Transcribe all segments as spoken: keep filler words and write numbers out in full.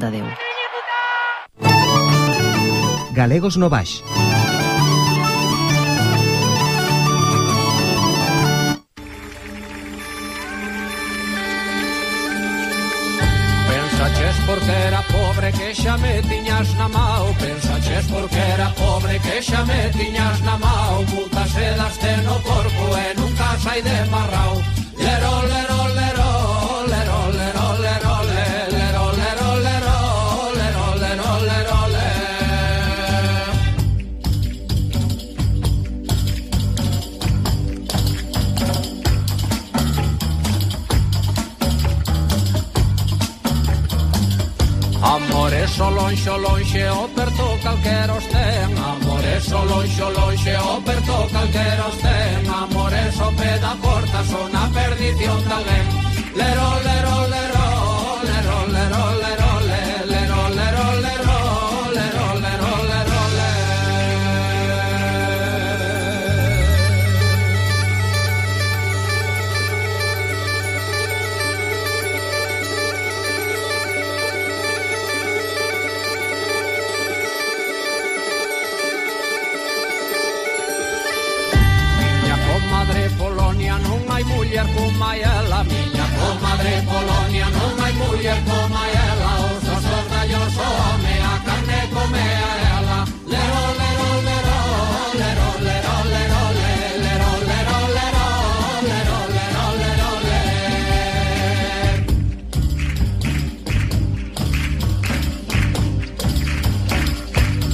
Tadeu. Galegos no Baix. Pensaches porque era pobre que xa me tiñas na mao. Pensaches porque era pobre que xa me tiñas na mao. Multas e daste no corpo e nunca sai de marrao. Lero, lero, lero, lero, lero, lero, lero, lero, lero, lero, lero, lero, le. Amore so lonxe, lonxe, o perto calquera os ten. Amore so lonxe, lonxe, o perto calquera os ten. Amore so pé da porta, son a perdición de alguén. Lero, lero, lero, lero, lero, lero, le, lero, lero, lero, lero, lero, lero, le. Comadre Polonia, non hai muller como ela. Miña comadre Polonia, non hai muller como ela. Os osos dallos o home, a carne come a ela. Lero, lero, lero, lero, lero, lero, lero, lero, lero, lero, lero, lero, le.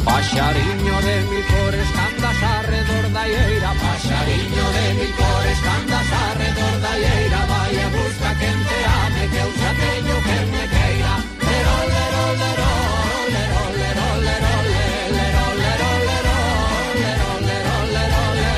Paxariño de mil cores candas arredor da ieira. Paxariño de mil cores candas arredor da ieira. Vai e busca quen te ame, que eu xa teño quen me queira. Lero, lero, lero, lero, lero, lero, lero, lero, lero, lero, lero, lero, le.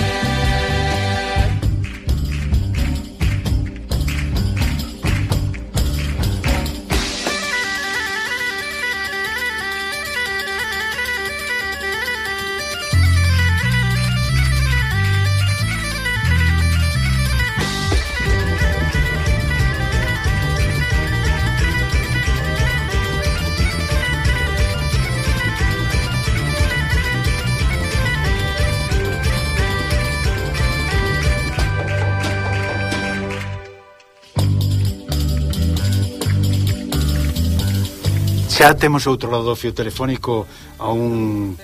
Xa temos outro lado do fio telefónico a un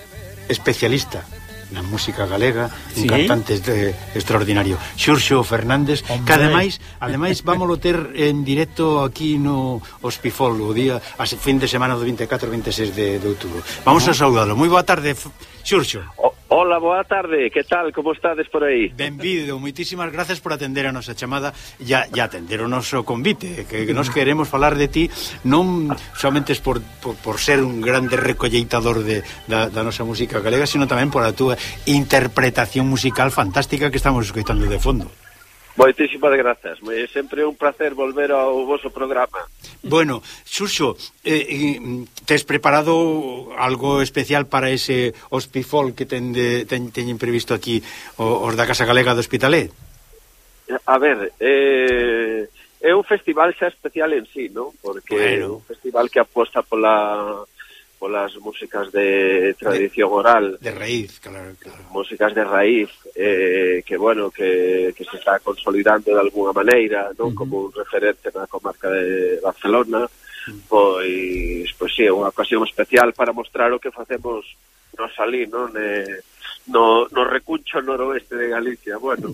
especialista na música galega, un ¿Sí? cantante de, extraordinario, Xurxo Fernández, Hombre. que ademais, ademais vámolo ter en directo aquí no Hospifol o día, a fin de semana do veinticuatro e veintiséis de, de outubro. Vamos uh -huh. a saudalo. Moi boa tarde, Xurxo. O, hola, boa tarde. Que tal? Como estades por aí? Benvido, moitísimas gracias por atender a nosa chamada e a, a atender o noso convite, que, que nos queremos falar de ti non somente por, por, por ser un grande recolleitador de, da, da nosa música galega, sino tamén por a túa interpretación musical fantástica que estamos escoitando de fondo. Moitísimas grazas. É sempre un placer volver ao voso programa. Bueno, Xurxo, eh, tes preparado algo especial para ese Hospifol que ten de, ten, teñen previsto aquí os da Casa Galega do Hospitalet? A ver, eh, é un festival xa especial en sí, ¿no? Porque é bueno. un festival que aposta pola polas músicas de tradición de, oral, de raíz, claro, claro. Músicas de raíz, eh, que bueno, que, que se está consolidando de alguna maneira, non? Uh -huh. Como un referente na comarca de Barcelona. Uh -huh. Pois, pois sí, é unha ocasión especial para mostrar o que facemos nos alí, non? Eh, no, no recuncho noroeste de Galicia. Bueno,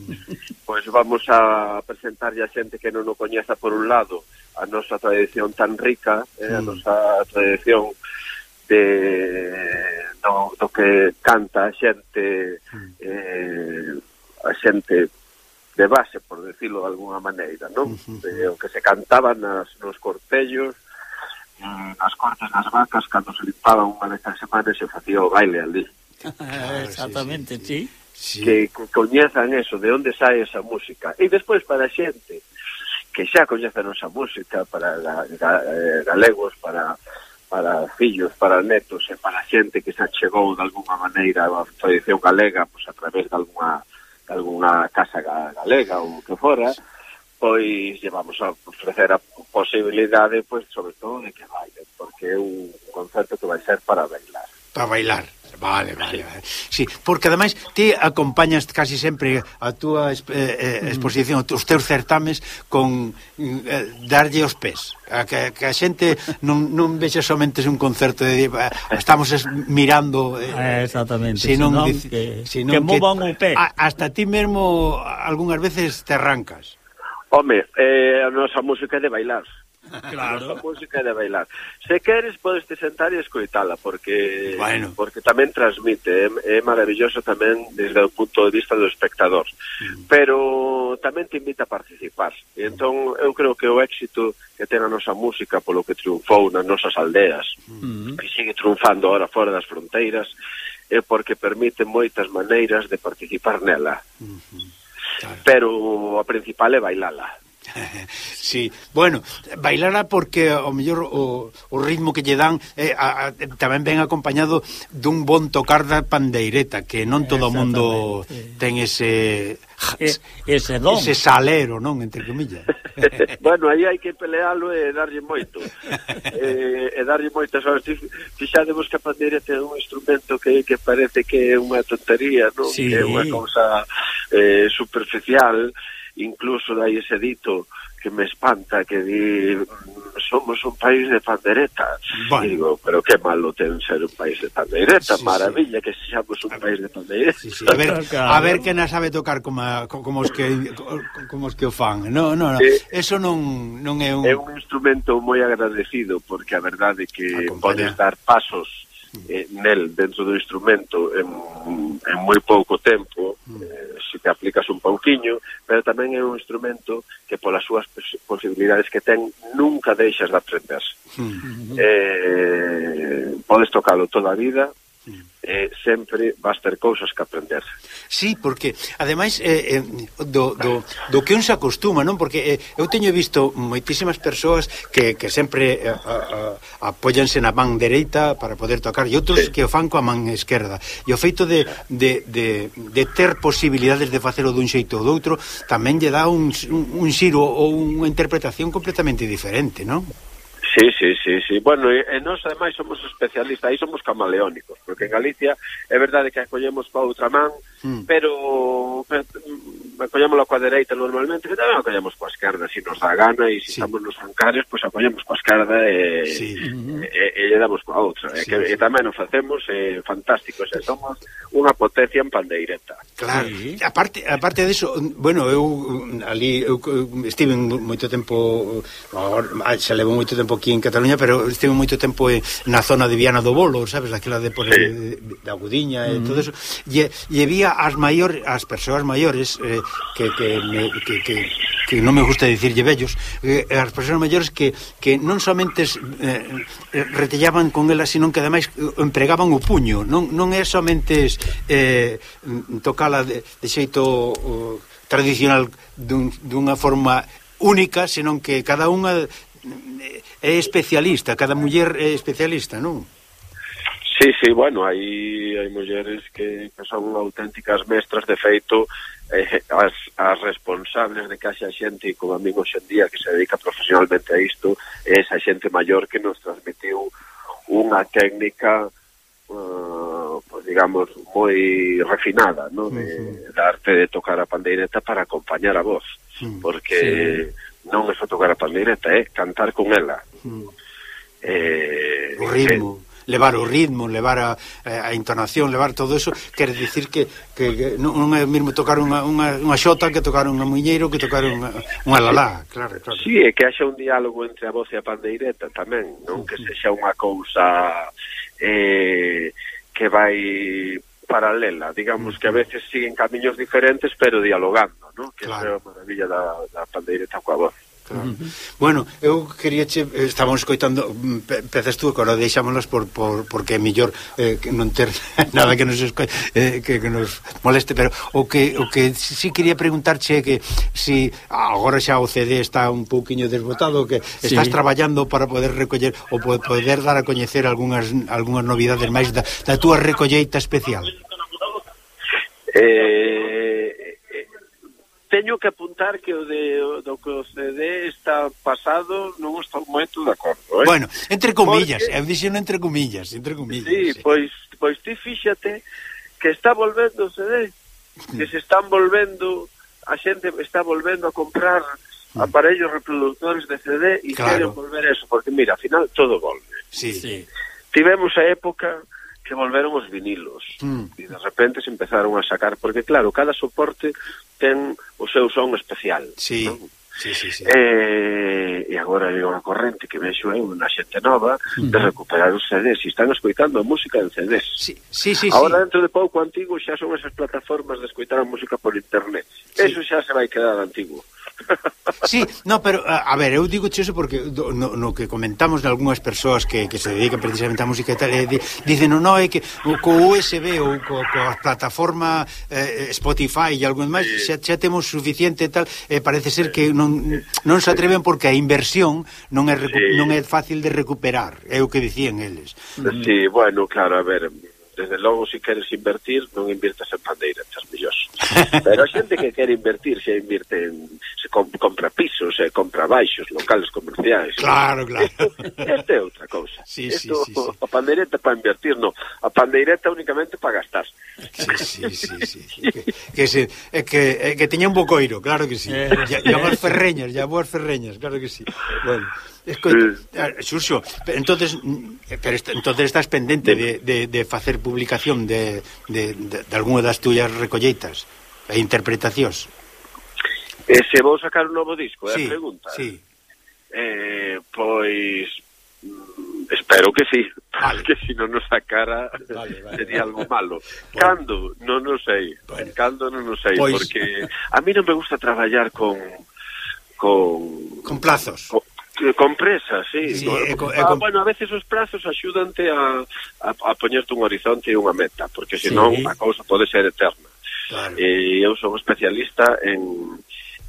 pois vamos a presentar a xente que non o coñeza por un lado a nosa tradición tan rica, eh, a nosa tradición de do, do que canta a xente, eh, a xente de base, por decirlo de alguna maneira, non? De, o que se cantaba nas, nos cortellos, eh, nas cortes das vacas, cando se limpaban unha vez a semana e se facía o baile ali. Claro, exactamente, sí, sí. sí. Que coñezan eso, de onde sae esa música. E despois para a xente que xa coñece a nosa música, para ga, ga, eh, galegos, para para fillos, para netos e para xente que se achegou de alguna maneira a tradición galega, pois a través de alguna, de alguna casa galega ou que fora, pois llevamos a ofrecer a posibilidade, pois sobre todo de que bailen, porque é un concerto que vai ser para bailar. Para bailar. Vale, vale, vale. Sí, porque ademais ti acompañas casi sempre a túa eh, eh, exposición, os teus certames con eh, darlle os pés. A que, que a xente non, non vexe somente un concerto de eh, estamos es, mirando eh, exactamente, senón, senón dice, que, senón que movan o pé. A, hasta ti mesmo algunhas veces te arrancas. Home, eh, a nosa música é de bailar. Claro. A música é de bailar. Se queres, podes te sentar e escoitala, porque bueno. porque tamén transmite, é, é maravilloso tamén desde o punto de vista do espectador. Mm. Pero tamén te invita a participar. E entón, eu creo que o éxito que ten a nosa música polo que triunfou nas nosas aldeas, mm. e sigue triunfando ahora fora das fronteiras, é porque permite moitas maneiras de participar nela. Mm-hmm. Claro. Pero a principal é bailala. Sí, bueno, bailara porque ao mellor o, o ritmo que lle dan eh, a, a, tamén ven acompañado dun bon tocar da pandeireta, que non todo o mundo ten ese e, ese don, ese salero, non, entre comillas. Bueno, aí hai que pelealo e darlle moito e, e darlle moitas horas. Fixadevos que a pandeireta é un instrumento que, que parece que é unha tontería, non? Sí. Que é unha cousa eh, superficial. Incluso dai ese dito que me espanta, que di somos un país de pandereta. Bueno. E digo, pero que malo ten ser un país de pandereta, sí, maravilla sí. Que seamos un país de pandereta. Sí, sí. A ver, a ver que na sabe tocar como, como os que como os que o fan. No, no, no. Sí. Eso non non é un é un instrumento moi agradecido, porque a verdade é que podes dar pasos eh, nel dentro do instrumento en, en moi pouco tempo, eh, se te aplicas un pouquiño, pero tamén é un instrumento que polas súas posibilidades que ten nunca deixas de aprender. Mm. Eh, podes tocalo toda a vida, eh, sempre vas ter cousas que aprender. Sí, porque ademais eh, eh, do, do, do que un se acostuma, non? Porque eh, eu teño visto moitísimas persoas que, que sempre eh, a, a, apóyanse na man dereita para poder tocar, e outros sí. Que o fan coa man esquerda, e o feito de, de, de, de ter posibilidades de facelo dun xeito ou doutro tamén lle dá un, un, un xiro ou unha interpretación completamente diferente, non? Sí, sí, sí, sí. Bueno, e, e nós ademais somos especialistas, aí somos camaleónicos, porque en Galicia é verdade que acollemos coa outra man, mm. pero, pero acollémoslo coa dereita normalmente, que tamén acollemos coa esquerda, se si nos dá gana, e se si sí. Estamos nos bancarios, pois pues acollemos coa esquerda e, sí. e, e, e lle damos coa outra. Sí, e, que, sí. E tamén o facemos eh, fantástico, e somos unha potencia en pandeireta. Claro, sí. aparte, aparte diso, bueno, eu ali eu, eu estive moito tempo, xa levo moito tempo aquí en Cataluña, pero estive moito tempo na zona de Viana do Bolo, sabes, aquela de por sí. de, de Agudiña e mm. todo eso, e, e vía as maiores, as persoas maiores eh, que, que, me, que, que, que non me gusta dicirlle vellos, eh, as persoas maiores que, que non somente eh, retellaban con elas, sino que ademais empregaban o puño, non, non é somente eh, tocala de, de xeito uh, tradicional dun, dunha forma única, senón que cada unha é especialista, cada muller é especialista, non? Sí, sí, bueno, hai, hai mulleres que, que son auténticas mestras, de feito, eh, as, as responsables de que haxa xente como a min hoxe en día que se dedica profesionalmente a isto, é esa xente maior que nos transmitiu unha técnica uh, pues, digamos, moi refinada, ¿no? De, uh-huh. da arte de tocar a pandeireta para acompañar a voz, uh-huh. porque sí. Non é só tocar a pandeireta, é cantar con ela. Mm. Eh, o ritmo, eh, levar o ritmo, levar a, a entonación, levar todo eso, quere dicir que, que, que non é mesmo tocar unha, unha, unha xota que tocar unha muñeiro, que tocar unha, unha lalá, claro, claro. Sí, é que haxa un diálogo entre a voz e a pandeireta tamén, non? Que sexa unha cousa eh, que vai paralela, digamos, que a veces siguen camiños diferentes pero dialogando, ¿no? Que claro. É a maravilla da, da pandeireta coa voz. Claro. Uh-huh. Bueno, eu quería che, estábamos escoitando pezas tú, que agora deixámolas por, por, porque é mellor eh, que non ter nada que nos esco, eh, que, que nos moleste, pero o que o que si quería preguntarche é que si agora xa o C D está un pouquiño desbotado, que sí. Estás traballando para poder recoller ou poder dar a coñecer algunhas algunhas novidades máis da, da túa recolleita especial. Eh, teño teño que apuntar que o de o, do que o C D está pasado non estou moito de acordo, eh? Bueno, entre comillas, Porque... eu dixeno entre comillas, entre comillas. Sí, sí. pois, pois ti fíxate que está volvendo o C D, que se están volvendo, a xente está volvendo a comprar aparellos reproductores de C D e claro. queren volver eso, porque mira, ao final todo volve. Sí. Sí. Tivemos a época que volveron os vinilos Mm. e de repente se empezaron a sacar, porque claro, cada soporte ten o seu son especial. Sí. Non? Sí, sí, sí. Eh, e agora hai unha corrente que vexo eu na xente nova de recuperar os C Ds e están escoitando a música en C Ds. Sí, sí, sí. Agora sí. dentro de pouco antigo xa son esas plataformas de escoitar a música por internet. Sí. Eso xa se vai quedar antigo. Sí, no, pero a, a ver, eu digo eso porque do, no, no que comentamos de algunhas persoas que, que se dedican precisamente á música e tal, e di, dicen, no, no, é que o, co U S B ou co, coa plataforma eh, Spotify e algún máis, xa, xa temos suficiente e tal, e parece ser que non, non se atreven porque a inversión non é, recu Sí. non é fácil de recuperar, é o que dicían eles. Sí, bueno, claro, a ver, desde logo, se queres invertir, non invirtas en pandeiretas, millós. Pero a xente que quere invertir, xa invirte en, se comp compra pisos, se compra baixos, locales comerciais. Claro, claro. Isto é outra cousa. Sí, Esto, sí, sí, sí. A pandeireta para invertir, non. A pandeireta únicamente para gastar. Sí, sí, sí, sí. Que, que, se, é que, é que teña un bocoiro, claro que sí. Eh, Ya, ya boas ferreñas, ya boas ferreñas, claro que sí. Bueno, escoita, Xurxo, pero entonces, pero est entonces estás pendente de, de, de facer publicación de, de, de, de algunha das tuyas recolleitas e interpretacións. E se vou sacar un novo disco, é Sí, a pregunta. sí. Eh, pois mm, espero que sí, Vale. porque se non nos sacara Vale, vale. sería algo malo. Bueno. Cando? Non o sei. Bueno. Cando non o sei, Pois- porque a mí non me gusta traballar con con Con plazos. con, con presas, sí. Sí, Con- é co- é ah, con- bueno, a veces os prazos axúdante a, a, a poñerte un horizonte e unha meta, porque senón Sí. a cousa pode ser eterna. Claro. E eu son especialista en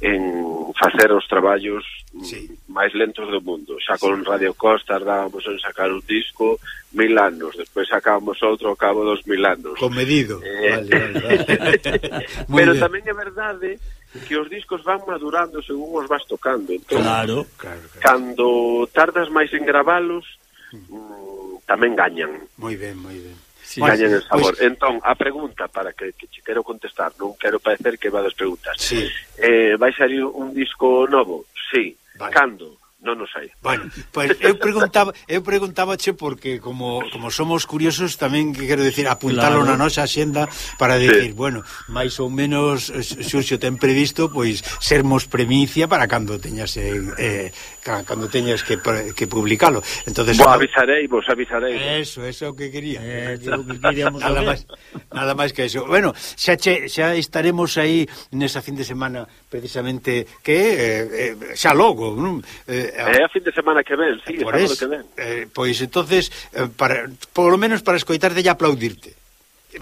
en facer os traballos Sí. máis lentos do mundo. Xa con Radio Costa tardábamos en sacar un disco mil anos, despois sacábamos outro ao cabo dos mil anos. Comedido. Eh. Vale, vale, vale. Muy Pero bien. tamén é verdade que os discos van madurando según os vas tocando. Entón, Claro. Claro, claro. cando tardas máis en gravalos, mm, tamén gañan. Moi ben, moi ben. Sí, gañan sí. el sabor. Pois- Entón, a pregunta para que, que che quero contestar, non quero parecer que vades preguntas. Sí. Eh, vai salir un disco novo? Sí. Vale. Cando? Non o sei. Bueno, pois pues eu preguntaba, eu preguntábache porque como como somos curiosos tamén que quero decir apuntalo Claro. na nosa axenda para decir, sí. bueno, máis ou menos Xurxo ten previsto pois sermos premicia para cando teñas eh, eh cando teñas que que publicalo. Entonces Vos avisarei, vos avisarei. Eso, eso é o que quería. Eh, é o que queríamos nada saber. máis, nada máis que eso. Bueno, xa che, xa estaremos aí nesa fin de semana precisamente que eh, eh, xa logo, non? Eh, É a fin de semana que ven, sí, por sábado es, que ven. eh, pois entonces eh, para polo menos para escoitarte e aplaudirte.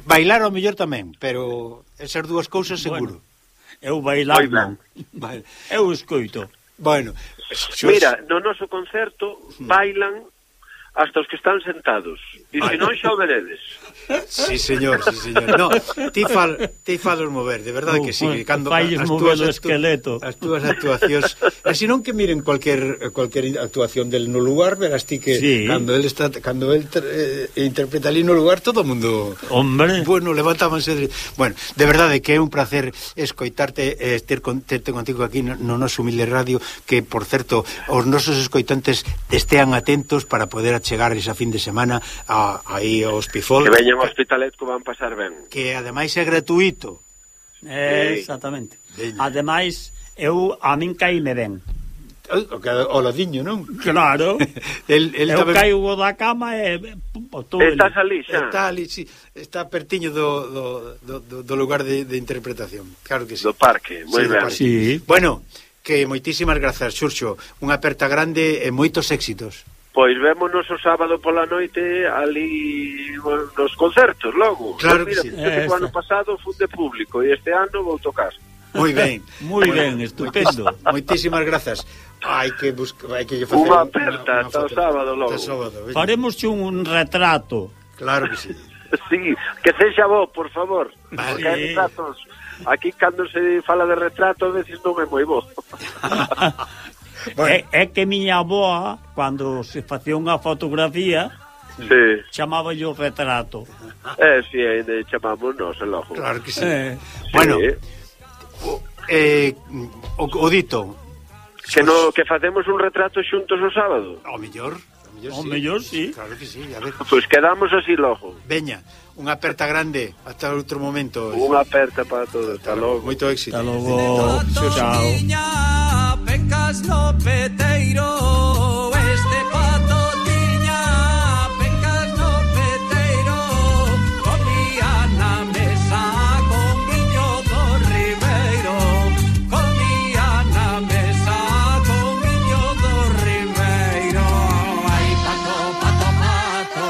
Bailar ao mellor tamén, pero esas dúas cousas seguro. Bueno, eu bailar Moi ben. non. Vale. Eu escoito. Bueno, xos... Mira, no noso concerto bailan hasta os que están sentados. E se non xa o veredes. Sí, señor, sí, señor. No, ti fal, ti falos mover, de verdade que sí, que cando Falles as mover túas o actu- esqueleto. as túas actuacións, así non que miren cualquier cualquier actuación del no lugar, verás ti que Sí. cando él está cando él eh, interpreta ali no lugar todo o mundo Hombre. bueno, levantábanse de... Bueno, de verdade que é un placer escoitarte eh, ter con, terte contigo aquí no, no noso humilde radio, que por certo os nosos escoitantes estean atentos para poder achegar esa fin de semana a, aí ao Hospifol, Que veñan ao Hospitalet que van pasar ben. que ademais é gratuito. Eh, Sí. exactamente. Veña. Ademais, eu a min caíme ben. O, que, o ladiño, non? Claro. El, el eu tamén caigo da cama e pum, tú, Estás ali xa. está ali, sí, está pertiño do, do, do, do, do lugar de, de interpretación. Claro que sí. Do parque, moi Sí, do ben. parque. Sí. Bueno, que moitísimas grazas, Xurxo. Unha aperta grande e moitos éxitos. Pois vémonos o sábado pola noite ali nos concertos logo. Claro Pois que mira, sí. fíjate que o ano pasado fun de público e este ano vou tocar. Moi ben. Moi ben, estupendo. Moitísimas grazas. Hai que buscar, hai que facer Unha aperta ata o foto. sábado logo. Ata o sábado, veña. Faremos un retrato. Claro que sí. Sí, que sexa vos, por favor. Vale. Porque hai retratos aquí cando se fala de retrato, a veces non é moi bo. Bueno. É, é que miña aboa, cando se facía unha fotografía, sí, chamaba yo retrato. Eh, si, sí, ainda chamamos nós, é logo. Claro que sí. Eh. Bueno, sí. o, eh, o, o dito... Que, no, que facemos un retrato xuntos o sábado. O mellor, o mellor, O sí. mellor, sí. Claro que sí, a ver. Pois pues quedamos así logo. Veña, unha aperta grande, ata outro momento. Unha aperta para todos, hasta logo. Moito éxito. Hasta logo. Chao. Tiña pencas no peteiro, este pato tiña pencas no peteiro, comía na mesa con viño do Ribeiro, comía na mesa con viño do Ribeiro. Ai, pato, pato, pato,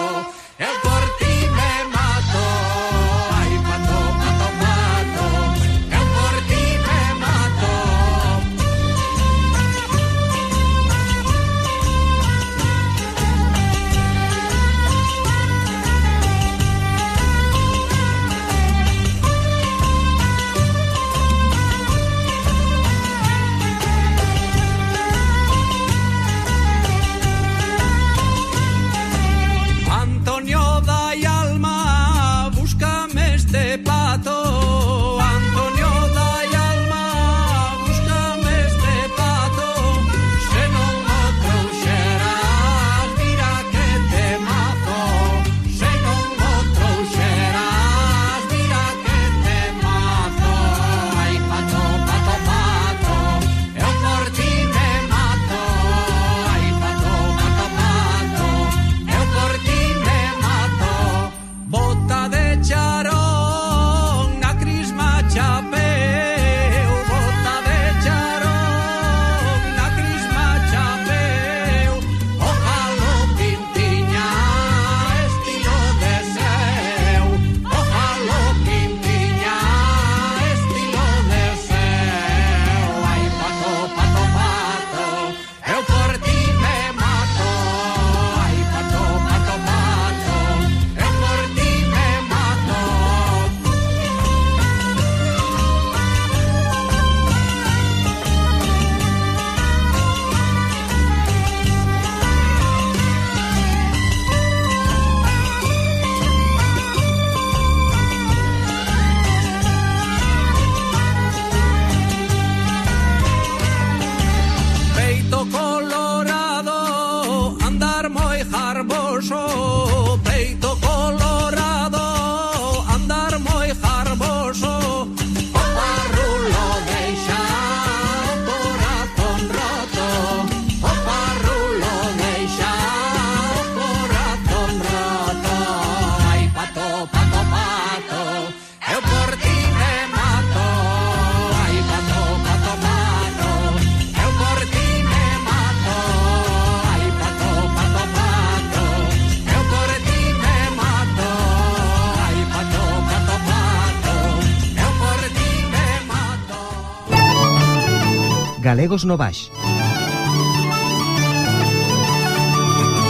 eu por ti me mato. Ai, pato, pato, pato, eu por ti me mato. Antonio dai alma, búscame este pato. Antonio dai alma, búscame este pato. Se non o trouxeras, mira que te mato. Se non o trouxeras, mira que te mato. Ai, pato, pato, pato, eu por ti me mato. Ai, pato, pato, pato, eu por ti me mato. Bota de charón na crisma chapeu, bota de charón na crisma chapeu. Ojalá pintiña estilo de seu, ojalá pintiña estilo de seu. Ai, pato, pato, pato, eu por ti me mato. Ai, pato, pato, pato, eu por ti me mato. Peito colorado, andar moi jarboso. Peito colorado, andar moi jarboso. O parrulo deixa o corazón roto. O parrulo deixa o corazón roto. Ai, pato, pato, pato, eu por ti me mato. Ai, pato, pato, pato, eu por ti me mato. Ai, pato, pato, pato, eu por ti me mato. Ai, pato, pato, pato, eu por ti me mato. Galegos no Baix.